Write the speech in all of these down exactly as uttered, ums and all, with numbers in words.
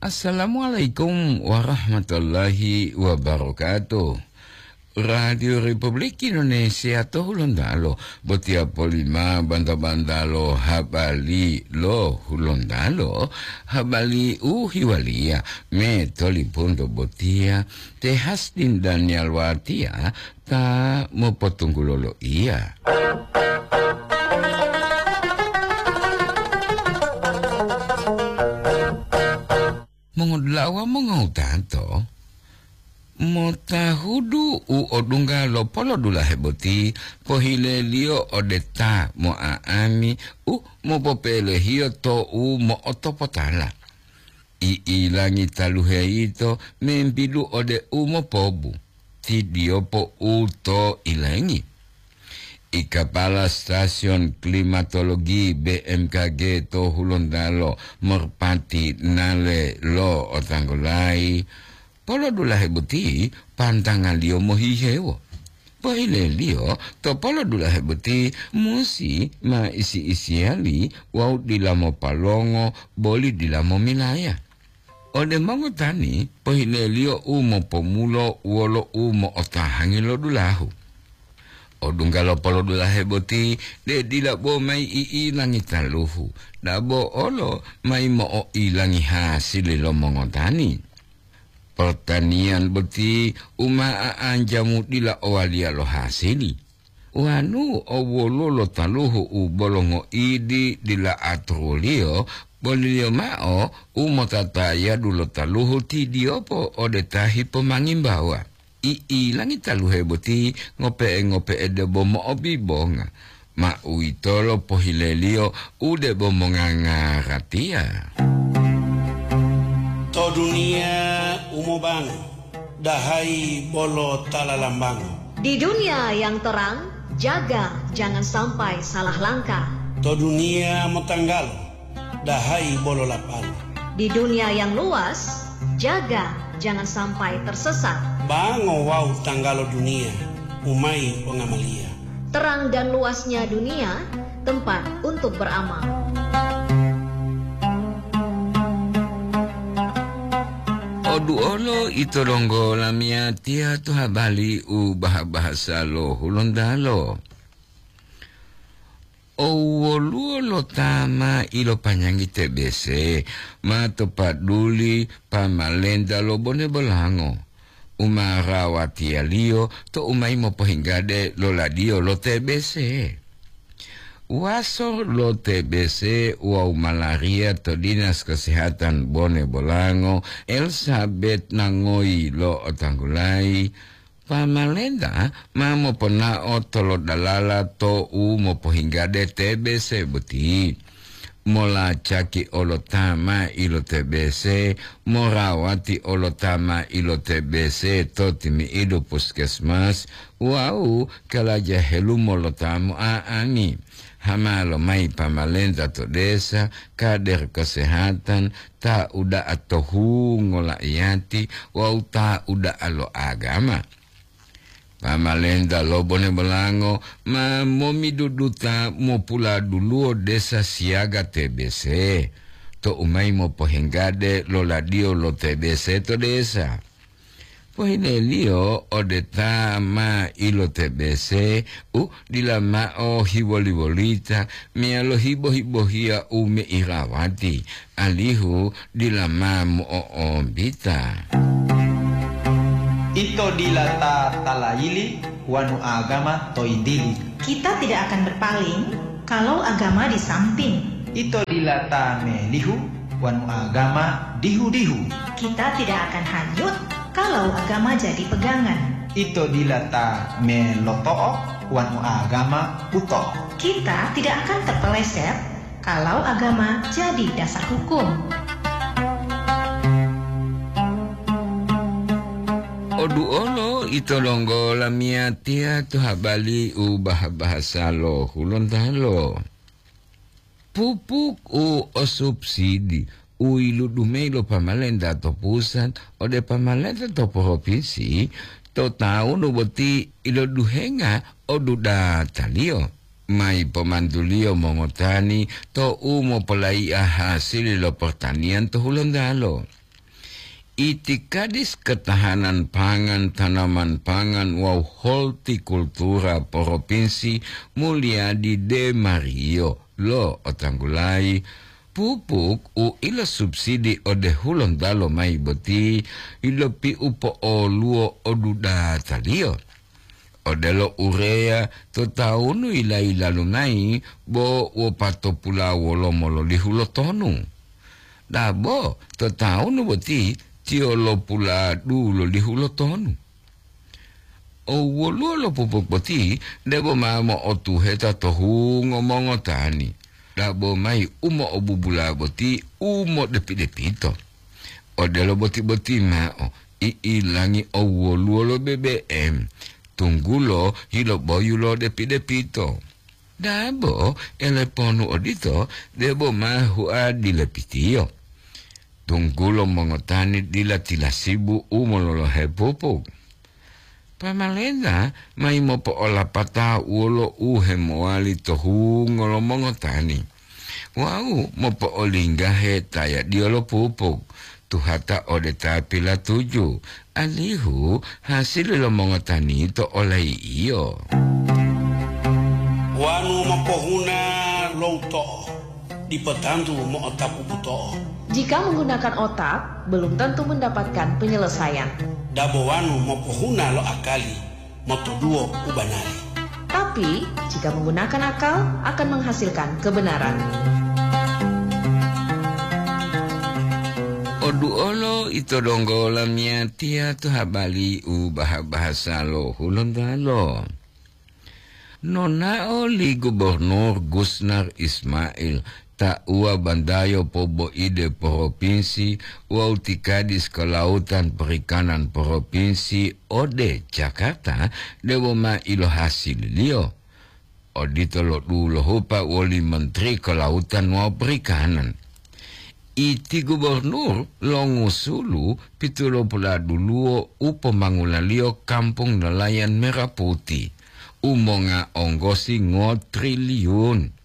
Assalamualaikum warahmatullahi wabarakatuh. Radio Republik Indonesia to Hulontalo, botiya polima banta-bantalo habari lo Hulontalo, habari u hiwaliya me tolipunto botiya, te Hasdin Daniel Watiya ta mopotunggulo loiya. Mongodula'a wawu mongowutato, motahudu u odungga lo polodulahe boti pohileliyo ode ta mo'a'ami u mopopelehiyo to u mo'otopotala. I'ilangi taluhe yito membidu ode u mopobu, tidiyopo u to ilengi. I kapala stasiyon klimatologi B M K G to Hulontalo, Merpati Nale lo otanggulayi, polodulahe boti pantangaliyo mohihewo. Pohileliyo to polodulahe boti musi ma isi-isiyali wawu dila mopalongo boli dila momilaya. Ode mongotani, pohileliyo u mopomulo wolo u mo'otahangi lo dulahu. Odungga lo polodulahe boti, de dila bo mayi i'ilangi taluhu, dabo olo mayi mo'o'ilangi hasili lo mongotani. Pertaniyan boti u ma a'anjamu dila owaliya lo hasili. Wanu o woluwo lo taluhu u bolo ngoidi dila aturuliyo, boliliyo mao u motatayadu lo taluhu tidiyopo ode ta hipomangimbawa. I'ilangi taluhe boti ngope'e-ngope'e debo mo'obibonga, ma uwitolo pohileliyo u debo mongangaratiya. To duniya u mobango, dahayi bolo ta lalambango. Di dunia yang terang, jaga jangan sampai salah langkah. To duniya motanggalo, dahayi bolo lapalo. Di dunia yang luas, jaga jangan sampai tersesat. Bango wawu tanggalo duniya, umayi pongamaliya. Terang dan luasnya dunia, tempat untuk beramal. Oduolo ito donggo lamiyatiya to habari u baha-bahasa lo Hulontalo. O woluwo lo ta ma ilopanyangi T B C ma to paduli pamalenta lo Bone Bolango u ma rawatiyaliyo to u mayi mopohinggade lo ladiyo lo T B C. Waso lo T B C wawu malaria to Dinas Kesehatan Bone Bolango, Elizabeth Nangoyi lo otanggulayi, pamalenta ma moponao tolodalala to u mopohinggade T B C boti. Molacaki olo ta ma ilo T B C, morawati olo ta ma ilo T B C to timi'idu puskesmas wawu kalaja helumo lo ta mo'a'angi. Hama lomayi pamalenta to desa, kader kesehatan, ta uda'a to hungo la'iyati wawu ta uda'a lo agama. Pamalenta lo Bone Bolango ma momiduduta mopuladuluwo desa siyaga T B C, to u mayi mopohenggade lo ladiyo lo T B C to desa. Pohineliyo ode ta ma ilo T B C u dila mao hiwoli-wolita meyalo hibo-hibohiya u meirawati, alihu dila ma mo'o'ombita. Ito dila ta talayili wanu agama to yintili. Kita tidak akan berpaling kalau agama di samping. Ito dila ta melihu wanu agama dihu-dihu. Kita tidak akan hanyut kalau agama jadi pegangan. Ito dila ta meloto'o wanu agama buto'o. Kita tidak akan terpeleset kalau agama jadi dasar hukum. Oduolo ito donggo lamiyatiya to habari u bah-bahasa lo Hulontalo. Pupuk u o subsidi u yiludu mayi lo pamalenta to pusat ode pamalenta to propinsi to tawunu boti iloduhenga o dudataliyo. Mayi pomantuliyo mongotani to u mopolaiya hasili lo pertanian to Hulontalo. Itikadis Ketahanan Pangan, Tanaman Pangan wawu Hortikultura Propinsi Mulyadi De Mario lo'otanggulayi, pupuk u ilosubsidi ode Hulontalo mayi boti yilopiupo'oluwo odudataliyo. Odelo ureya to tawunu yila-yilalu mayi bo wopatopula wolomo lolihu lo tonu. Dabo to tawunu boti tiyo lopuladu lolihu lo tonu. O woluwo lo pupuk boti debo ma mo'otuheta to hungo mongotani, dabo mayi u mo'obubula boti u modepi-depito. Odelo boti-boti mao, i'ilangi o woluwo lo B B M, tunggulo yiloboyu lo depi-depito. Dabo eleponu odito debo ma hua dilepitiyo, tunggulo mongotani dila tilasibu u mololohe pupuk. Pamalenta mayi mopo'olapata wolo u hemowali to hungo lo mongotani wawu mopo'olinggahe tayadiyo lo pupuk, tuhata ode ta pilatuju, alihu hasili lo mongotani to olayi'iyo. Wanu mopohuna lo uto'o, dipo tantu mo'otapu buto'o. Jika menggunakan otak, belum tentu mendapatkan penyelesaian. Dabo wanu mopohuna lo akali, motoduwo u banari. Tapi, jika menggunakan akal, akan menghasilkan kebenaran. Oduolo ito donggo lamiyatiya to habari u baha-bahasa lo Hulontalo. Nonao li Gubernur Gusnar Ismail, tauwa bantayo poboide propinsi wawu ti Kadis Kelautan Perikanan propinsi ode Jakarta debo ma ilohasililiyo. Odito lo dulohupa woli Menteri Kelautan wawu Perikanan. Iti gubernur longusulu pitulopula duluwo u pomangulaliyo kampung nelayan Merah Putih, u monga onggosi ngotriliun.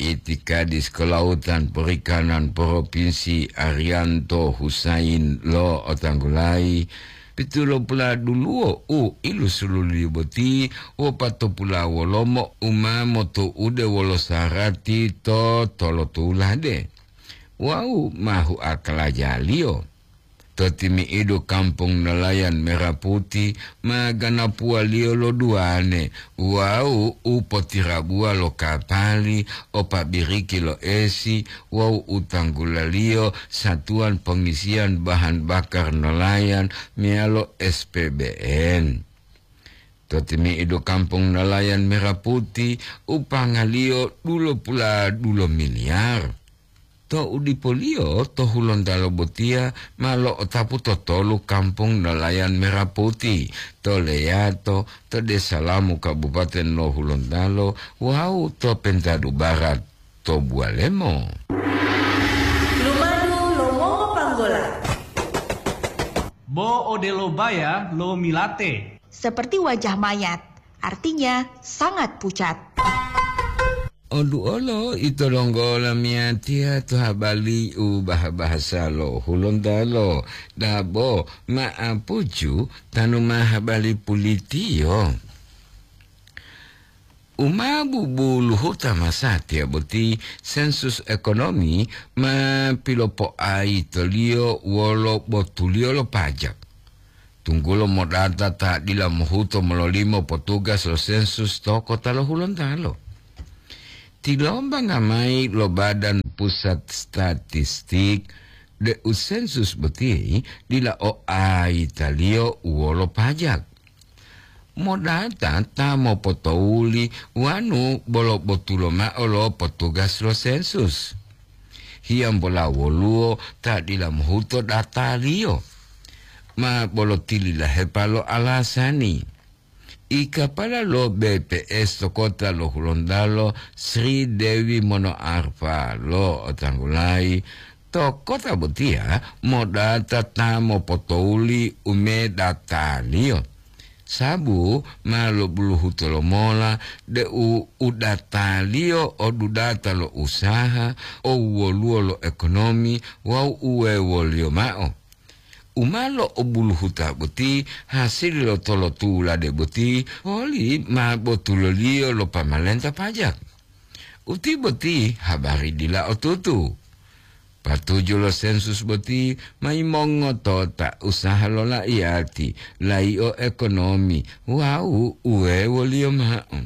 Iti Kadis Kelautan Perikanan Propinsi Arianto Husain lo'otanggulayi, pitulopula duluwo u ilusululiyo boti wopatopula wolomo u ma motu'ude wolo sarati to tolotulade. Wawu ma huakalajaliyo. To timi'idu kampung nelayan Merah Putih ma ganapuwaliyo lo duwane wawu u potirabuwa lo kapali o pabiriki lo esi wawu u tanggulaliyo satuwan pongisiyan bahan bakar nelayan meyalo S P B N. To timi'idu kampung nelayan Merah Putih u pangaliyo dulopula dulo miliyar. To udipoliyo to Hulontalo botiya ma lo'otapu to tolu kampung nelayan Merah Putih, to Leyato, to Desa Lamu Kabupaten lo Hulontalo wawu to Pentadu Barat to Buwalemo. Lumadu lo mongopanggola. Bo odelo baya lo milate. Seperti wajah mayat, artinya sangat pucat. Oduolo ito donggo lamiyatiya to habari u baha-bahasa lo Hulontalo, dabo ma'apuju tanu ma habari pulitiyo. U ma bubuluhuta masatiya boti sensus ekonomi ma pilopoaitoliyo wolo botuliyo lo pajak. Tunggulo modata ta dila mohuto mololimo potugas lo sensus to kota lo Hulontalo. Tilombanga mayi lo Badan Pusat Statistik deu sensus boti dila o aitaliyo wolo pajak. Modata ta mopotouli wanu bolo botulo mao lo potugas lo sensus. Hiyambola woluwo ta dila mohuto dataliyo. Ma bolo tililahepa lo alasani. I kapala lo B P S to kota lo Hulontalo, Sri Dewi Monoarfa lo otanggulayi, to kota botiya modata ta mopotouli u medataliyo. Sabu ma lobuluhuto lomola deu u dataliyo o dudata lo usaha, o woluwo lo ekonomi wawu uwewoliyo mao. u ma lo'obuluhuta boti hasili lo tolotulade boti, poli ma botuloliyo lo pamalenta pajak. Uti boti habari dila otutu. Patuju lo sensus boti ma yimongotota usaha lo laiyati, laio ekonomi wawu uwewoliyo mao.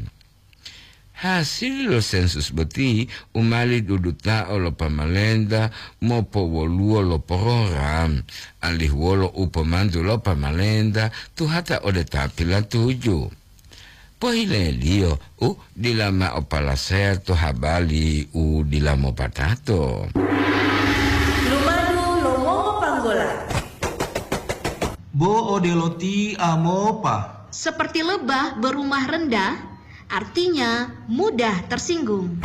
Hasili lo sensus boti u mali dudutao lo pamalenta mopowoluwo lo program, alihu wolo u pomantu lo pamalenta tuhata ode ta pilatuju. Pohileliyo u dila mao palasaya to habali u dila mopatato. Lumadu lo mongopanggola. Bo odelo ti amopa. Seperti lebah berumah rendah, artinya mudah tersinggung.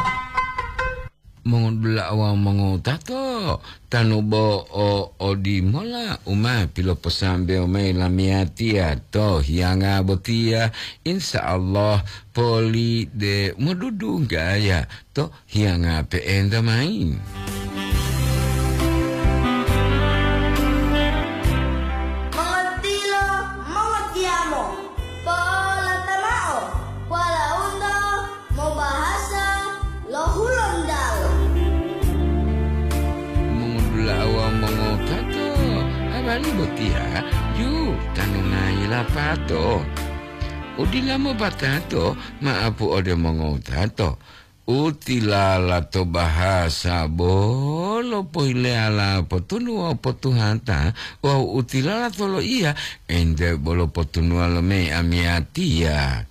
Mongodula'a wawu mongowutato, tanu bo o odimola u ma piloposambewo mayi lamiyatiya to hiyanga botiya, insya Allah poli de modudunggaya to hiyanga pe'enta mayi. Mongotilo, mongotiyamo, po'olata mao, walaundo mobahasa lo Hulontalo. Mongodula'a wawu mongotato, habari botiya ju tanu mayi lapato. Udila mopatato ma'apu ode mongotato. U tilala to bahasa bolo pohileyala potunuwa potuhata wawu u tilala to loiya ente bolo potunuwa lo mayi amiyatiya.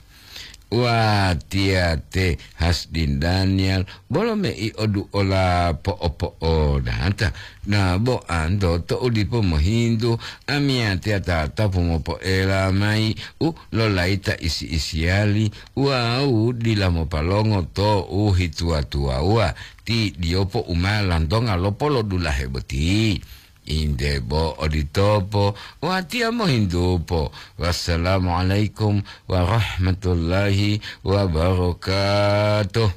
Watiya te Hasdin Daniel bolo mei oduola po'opo'odata, na bo anto to u dipo mohintu amiyatiya tatapu mopoela mayi u lolayita isi-isiyali wawu dila mopalongo to u hituwa-tuwawuwa ti diyopo u ma lantonga lopolodulahe boti. Inde bo oditopo, watiya mohintupo. Wassalamualaikum warahmatullahi wabarakatuh.